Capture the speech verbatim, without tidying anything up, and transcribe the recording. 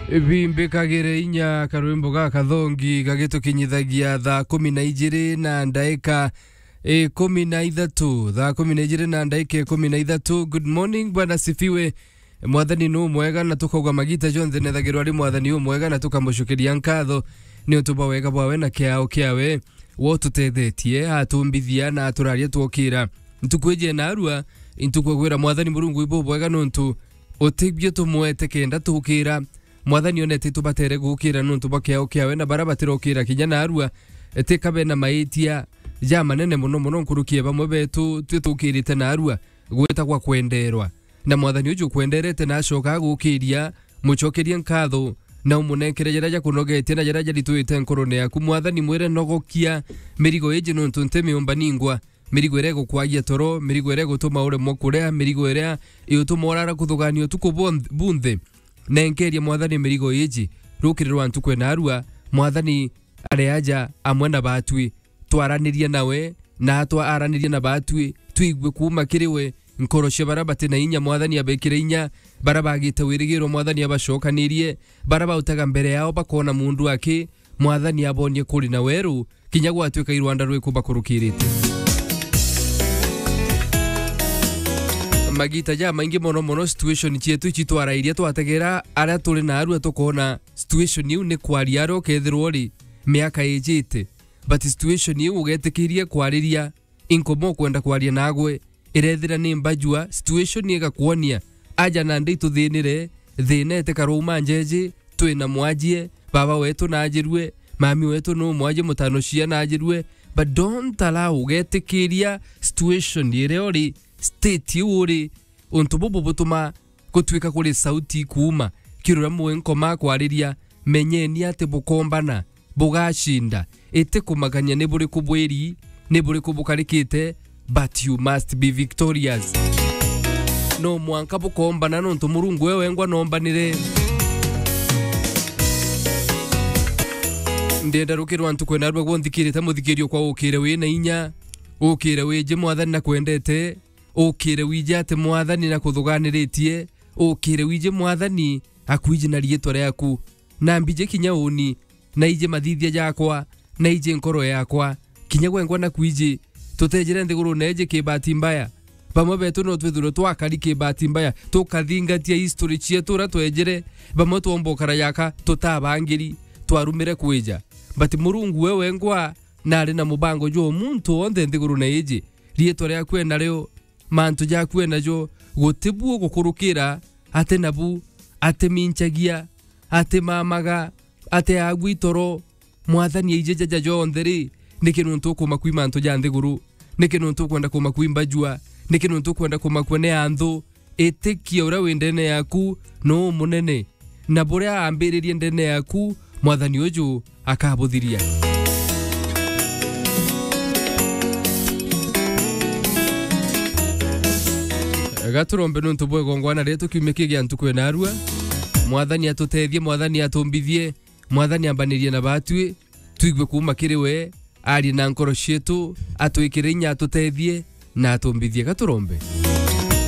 Bimbikagire inya karwimbo ga kathongi gagitukinyithagia thaa kumi na ijiri na ndaika ikumi na ithatu, thaa kumi na ijiri na ndaika ikumi na ithatu. Good morning, Bwana sifiwe. Mwathani ni umwega, na tukauga magita jonthe nethagirwa ari Mwathani umwega, na tukamucukiria nkatho ni untu bwa wega bwawe na kiao kiawe. Wo tutethetie, atumbithia na aturaria twokira. Ntuku iji narua, intuku gwira Mwathani Murungu ibubwega nuntu utibio tumwete kenda tukira. Mwathani onete tubatere gukira nuntu bwa kiao kiawe, na bara batirokira kinya narua, tika bena maitia ja manene mono mono nkuruki ya bamwe betu twi tukirite narua gwita gwa kwenderwa. Na Mwathani uju ukwenderete na acoka agukiria, mucokerie nkatho, na umunenkere jaria jakunogetie na jaria jaritwite nkorone yaku. Mwathani mwire, nogokia mirigo iji nuntu nti miumba ningwa. Mirigo iria igukwagia toro, mirigo iria igutuma uremwa kuria, mirigo iria igutuma urara kuthugania utuku bwon-, bunthe. Nenkeria Mwathani mirigo iji, rukiri rwa ntuku ena arua, Mwathani ari aja amwe na batwi. Twaranirie nawe, na atwa aranirie na batwi, twigue kuuma kiri we, nkoro cia bara bati na inya, Mwathani abekire inya, bara bagite wirigiro, Mwathani abacokanirie, bara bautaga mbere yao bakona mundu aki, Mwathani abonie kuri na weru, kinya gwatuika irwanda rwiku bakurukirite. Magita ja maingi mono mono situation cietu ici twarairia twategera aria turi narua tukona situation iu ni kwaria aria ukethirwa uri miaka ijite. But situation iu ugetikirie kwariria, inkoma ukwenda kwaria nagwe, irethira ni mbajua, situation igakwonia, aja nandi ituthinire, thina itikara uma njeji, twina mwajie, baba wetu najirue, mami wetu nu mwajie, mutano cia najirue, but don't allow, ugetikiria situation iria uri, state iu uri, untu bubu butuma gutwika kuri sauti ikuuma, kirura mwe nkoma kwariria, menyeni ati bukombana, bugacinda. Iti kumakania ni buriku bwiri, ni buriku bukarikite, but you must be victorious. No mwanka bukombana nontu Murungu we wengwa nombanire. Ndenda rukirwa ntuku ena rua gwonthikiirite muthikirio kwa ukire wina inya, ukire wiji Mwathani na kwendete, ukire wiji ati Mwathani na kuthuganiritie, ukire wiji Mwathani akwiji na riitwa riaku, na mbiji kinya uni, na iji mathithia jakwa, na iji nkoro yakwa, kinya gwengwa na kwiji. Tutejire nthigurune iji ki bahati mbaya. Bamwe betu no twithirwe twakari ki bahati mbaya, tukathingatia history cietu uria twejire, bamwe twomba ukara yaka tutabangiri, twarumire kwija. But Murungu we wengwa nari na mubango jwa muntu wonthe nthigurune iji. Riitwa riaku e nario, mantu jaku e najo, guti bu ugukurukira ati nabu, ati minchagia, ati mamaga, ati agwi toro. Mwathani aiji jaja jonthe ri, niki nuntu ukumakwi mantu ja nthiguru? Niki nuntu ukwenda kumakwi mbajua? Niki nuntu ukwenda kumakua ni anthu? Itikia uria wi ndene yaku nu munene, na buria aambiririe ndene yaku, Mwathani uju akabuthiria. Gaturombe nuntu bwa igongwana rietu kiumia kii gia ntuku ena arua. Mwathani atutethie, Mwathani atumbithie, Mwathani ambanirie na batwi, twigue kuuma kiri we, arie na nkoro cietu, atwikire inya, atutethie na atumbithie. Gaturombe.